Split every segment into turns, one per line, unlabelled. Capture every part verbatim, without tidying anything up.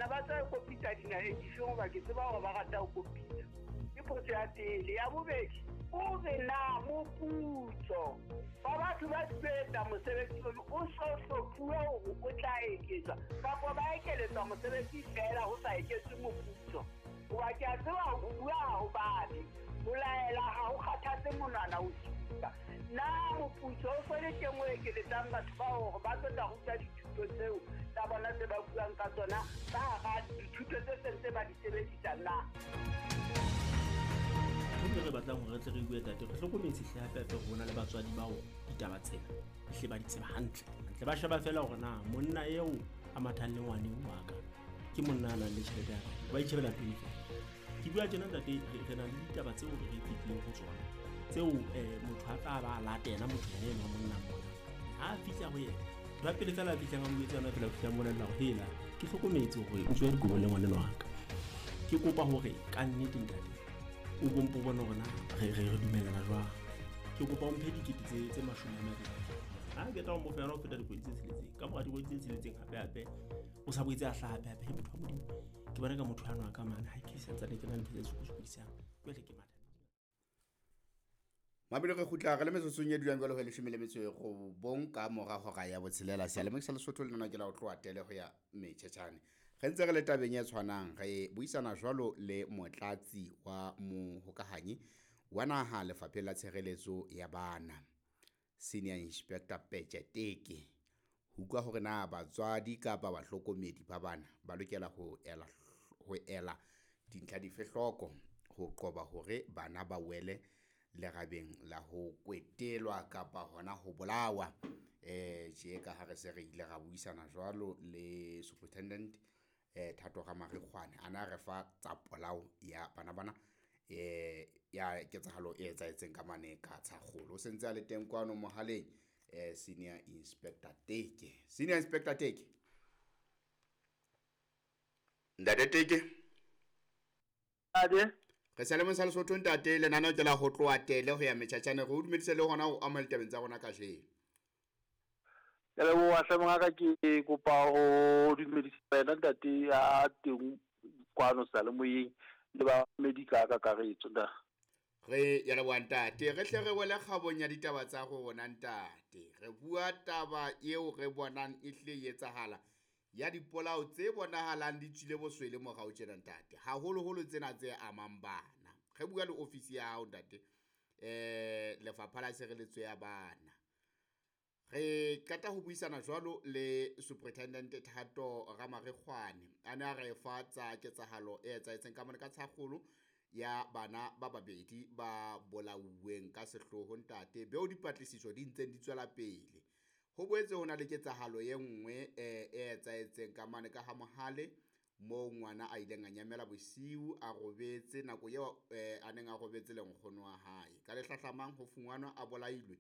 Ba tswa e kopitsa dinaheng difeng? Hoba ke tseba hore ba rata ho kopitsa. Ke potso ya pele. Ya bobedi, o re na moputso wa batho ba etsa mosebetsi ono o so hlophuwe hore o tla eketswa, kapa ba ekeletswa mosebetsi feela ho sa eketswe moputso? Hoba ke a tseba ho bua ha ho babe, ho laela ha ho kgathatse monwana ho supa. Na moputso o so le teng o ekeletsang batho ba hore ba tlo tla ruta dithuto tseo tsa bona tse ba buang ka tsona ka hara dithuto tse seng tse ba di sebedisa na?
Ntho re batlang hore re tle re bue, tate, re hlokometse hle hape hape hore ho na le batswadi bao ditaba tsena ehle ba di tseba hantle hantle. Ba sheba feela hore na monna eo a mathang le ngwaneng wa ka ke monna a nang le tjhelete ya kae, ba itjhebela pele feela. Ke bua tjena, ntate, re na le ditaba tseo re fetileng ho tsona tseo um motho a tla ba latela motho yena eno wa monna mona. Ha a fihla ho yena, ntho ya pele feela a fihlang a mo etsa yona fela, o fihla molella hore hela, ke hlokometse hore o tswa dikobong le ngwaneno wa ka, ke kopa hore ka nnete, ntate, o bompo bone hore na re re re dumellana jwang, ke kopa o mphe dikete tse tse mashome a mabedi. Ha ke tla o mo fa yona ho feta dikgwedi tse tsheletseng. Ka mora dikgwedi tse tsheletseng hape hape o sa boetse a hlaha hape hape. Motho wa Modimo, ke bona ka motho ano a ka mane ha ke santsane ke na le ntho tse sokodisang, jwale ke matha.
Mabelo re kgutla re le metsotsong e dulang jwalo ho leshome le metso e robong ka mora hora ya botshelela. Seyalemoya sa Lesotho le nna ke la ho tloha tele ho ya metjhetjhane. Re ntse re le tabeng e tshwanang, re buisana jwalo le motlatsi wa mohokahanyi wa naha Lefapheng la Tshireletso ya Bana, Senior Inspector Peche Teke, ho utlwa hore na batswadi kapa bahlokomedi ba bana ba lokela ho ela ho ela dintlha dife hloko ho qoba hore bana ba wele lerabeng la ho kwetelwa kapa hona ho bolawa. Eh tje ka ha re se re ile ra buisana jwalo le Superintendent eh Thato Ramarikgwane, a na re fa tsa polao ya bana bana eh ya ketsahalo e etsahetseng ka mane ka Tshakgolo. O sentse a le teng kwano mohaleng, eh Senior Inspector Teke. Senior Inspector Teke, ntate Teke.
Ade.
Re sa le sa Lesotho, ntate. Lenaneo ke la ho tloha tele ho ya metjhatjhane. Re o dumedise le hona ho amohela ditabeng tsa rona kajeno.
Ke leboha hle, mongaka. Ke kopa ho dumedisa wena, ntate ya teng kwano seyalemoyeng, le bamamedi ka kakaretso nda.
Re ya leboha, ntate. Re hle re wele kgabong ya ditaba tsa rona, ntate. Re bua taba eo re bonang e hle e etsahala ya dipolao tse bonahalang di tswile boswele morao tjena, ntate, haholoholo tsena tse amang bana. Re bua le ofisi ya hao, ntate, eh Lefapha la Tshireletso ya Bana. Re qeta ho buisana jwalo le Superintendent Thato Ramarikgwane, a ne a re fa tsa ketsahalo e etsahetseng ka mane ka Tshakgolo ya bana ba babedi ba bolauweng ka sehloho, ntate, beo dipatlisiso di ntseng di tswela pele. Ho boetse ho na le ketsahalo e nngwe e etsahetseng ka mane ka ha Mohale, moo ngwana a ileng a nyamela bosiu a robetse nako eo a neng a robetse le nkgono wa hae. Ka le hlahlamang ho fumanwa a bolailwe,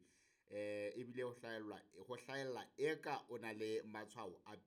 eh ebile ho hlahellwa ho hlahella eka o na le matshwao a.